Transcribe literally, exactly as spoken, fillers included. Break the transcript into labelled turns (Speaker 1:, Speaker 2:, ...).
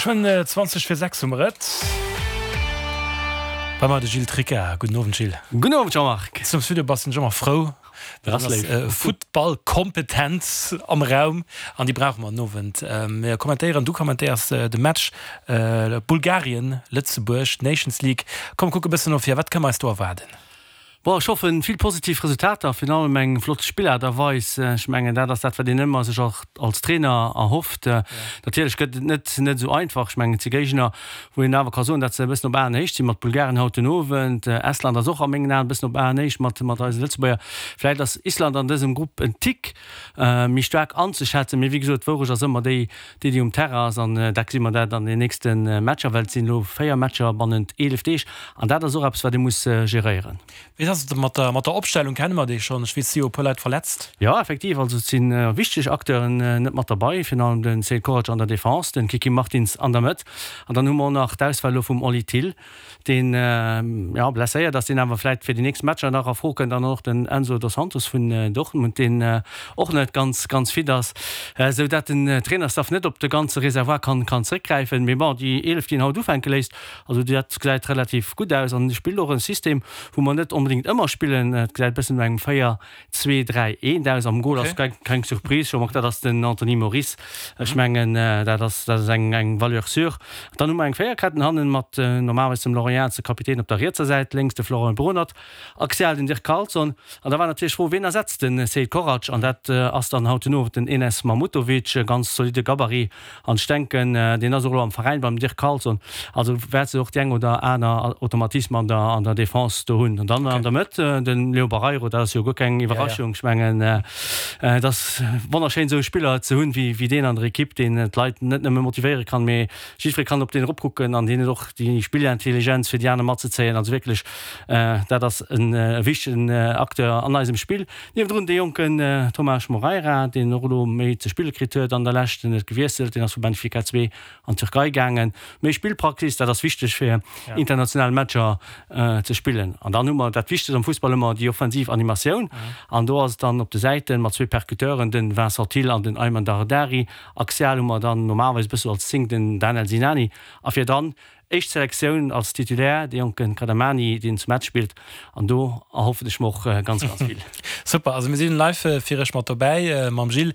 Speaker 1: Geschwënn zwanzeg vir sechs hu mer et. Bei mer de Gilles Tricca. Gudden Owend, Gilles.
Speaker 2: Gudden Owend, Jean-Marc.
Speaker 1: Zum Studio bass den ëmmer frou.
Speaker 2: Dat ass léif.
Speaker 1: Futtballkompetenz am Raum an déi brauche mer den Owend. Mir kommentéieren, du kommentéiers de Match Bulgarien, Lëtzebuerg, Nations League. Komm, kuck e bëssen no vir, wat kënne mer eis do erwaarden?
Speaker 2: Bon, ech hoffen vill positiv Resultater, virun allem eng flott Spillaart a Weis. Ech mengen, dat ass dat, wat een ëmmer sech och als Trainer erhofft. Natierlech gëtt et net net esou einfach. Ech mengen, et si Géigner, wou een awer ka soen, datt se e bëssen op Aenhéicht sinn, mat Bulgarien haut den Owend. Estland ass och a mengen Aen e bëssen op Aenhéicht mat mat eise Lëtzebuerger. Vläicht ass Island an dësem Grupp en Tick méi staark anzeschätzen, mee wéi gesot, d'Wourecht ass ëmmer déi, déi déi um Terrain ass an dat gesi mer dat an den nächste Matcher, well et sinn elo véier Matcher bannent eelef Deeg an dat ass och eppes, wat ee muss geréieren.
Speaker 1: Wéi ass et mat der, mat der Opstellung? Kenne mer déi schonn? Ech weess, et si jo e puer Leit verletzt.
Speaker 2: Jo, effektiv. Also et si wichteg Acteuren net mat derbei, virun allem de Sead Korac an der Defense, de Kiki Martins an der Mëtt an dann hu mer och nach d'Ausfäll elo vum Oli Thill, deen, jo, blesséiert ass, deen awer vläicht fir déi nächst Matcher nach a Fro kënnt an och den Enzo Dos Santos vun Dortmund, deen och net ganz, ganz fit ass, esou dat den Trainerstaff net op de ganze Reservoir kann, kann zréckgräifen. Mee bon, déi eelef, déi en haut ufänke léisst, also dat gesäit relativ gutt aus an e spillt och e System, wou mer net onbedéngt ëmmer spillen. Et gesäit e bëssen no engem véier, zwee, dräi, eent aus. Am Gol ass keng, keng Surprise, Jean-Marc, dat ass den Anthony Moris. Ech mengen, dat ass, dat ass eng, eng Valeur sûre. Dann hu mer eng Véierketten hannen mat normalerweis dem Laurent Jans, de Kapitän, op der rietser Säit, lénks de Florent Bronert, axial den Dirk Carlson. An da war natierlech d'Fro, wien ersetzt de Sead Korac? An dat ass dann haut den Owend den Enes Mahmutovic, e ganz zolidde Gabarit. An ech denken, deen ass och elo am Veräin beim Dirk Carlson, also wäert se och déi eng oder aner Automatisme an der, an der Defense do hunn. An dann an der Mëtt de Leo Barreiro, dat ass jo guer keng Iwwerraschung. Ech mengen, et ass wonnerschéin, esou e Spiller ze hunn wéi, wéi deen an der Ekipp, deen d'Leit net nëmme motivéiere kann, mee jiddweree kann op deen eropkucken an deen huet och déi Spillintelligenz, fir déi aner matzezéien. Also wierklech, dat ass e wichtegen Acteur an eisem Spill. Niewendrun dee jonken Tomás Moreira, deen och elo méi ze spille kritt huet an der Lescht, deen huet gewiesselt, deen ass vu Benfica zwee an d'Türkei gaangen. Méi Spillpraxis, dat ass wichteg fir international Matcher ze spillen. An dann hu mer dat Wichtegst am Fussball ëmmer, déi offensiv Animatioun. An do ass et dann op de Säiten mat zwee Percuteuren, den Vincent Thill an den Ayman Dardari. Axial hu mer dann normalerweis e bësse als Zéng den Danel Sinani a virdran éischt Selektioun als Titulaire de jonke Kadamani, deen zu Metz spillt. An do erhoffen ech mer och ganz, ganz vill.
Speaker 1: Super, also mir sinn live fir iech mat dobäi mam Gilles.